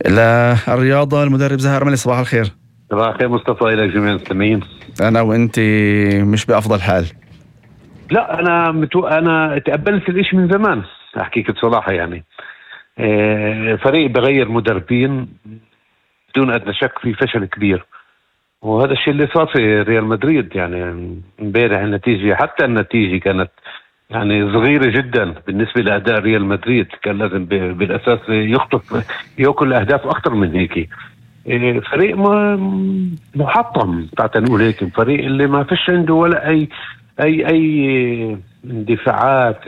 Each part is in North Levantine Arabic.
للرياضة المدرب زهير أرملي، صباح الخير. صباح الخير مصطفى، إلى جميع المستمعين. أنا وأنت مش بأفضل حال. لا أنا تقبلت الإشي من زمان، أحكيك بصراحة. يعني فريق بغير مدربين بدون أدنى شك في فشل كبير، وهذا الشيء اللي صار في ريال مدريد. يعني امبارح النتيجة، حتى النتيجة كانت يعني صغيرة جدا بالنسبة لأداء ريال مدريد. كان لازم بالأساس يخطف يأكل أهداف أكثر من هيك. فريق محطم تعال نقول هيك، فريق اللي ما فيش عنده ولا أي اندفاعات،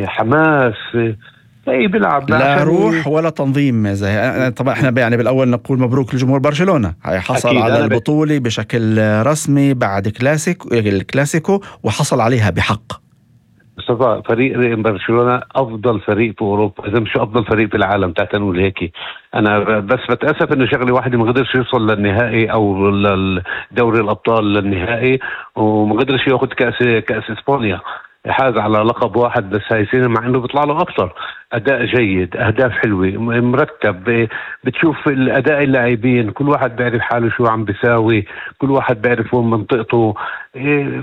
حماس، بيلعب لا روح ولا تنظيم. زي طبعا احنا يعني بالاول نقول مبروك لجمهور برشلونة، حصل على البطولة بشكل رسمي بعد الكلاسيكو وحصل عليها بحق. مصطفى، فريق برشلونة أفضل فريق في أوروبا، إذا مش أفضل فريق في العالم. تعال نقول هيك. أنا بس بتأسف إنه شغلة واحدة ما قدرش يوصل للنهائي أو للدوري الأبطال للنهائي، وما قدرش يأخذ كأس إسبانيا. حاز على لقب واحد بس هاي سنة، مع انه بيطلع له اكثر. اداء جيد، اهداف حلوة، مرتب. بتشوف الاداء اللاعبين، كل واحد بيعرف حاله شو عم بيساوي، كل واحد بيعرف وين منطقته.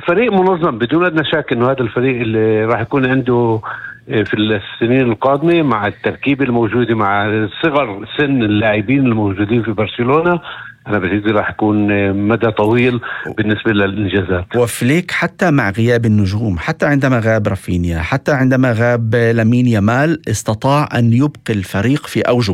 فريق منظم بدون ادنى شك انه هذا الفريق اللي راح يكون عنده في السنين القادمة مع التركيبة الموجودة، مع صغر سن اللاعبين الموجودين في برشلونة، أنا بجد راح يكون مدى طويل بالنسبة للإنجازات. وفليك حتى مع غياب النجوم، حتى عندما غاب رافينيا، حتى عندما غاب لامين يامال، استطاع أن يبقي الفريق في أوجه.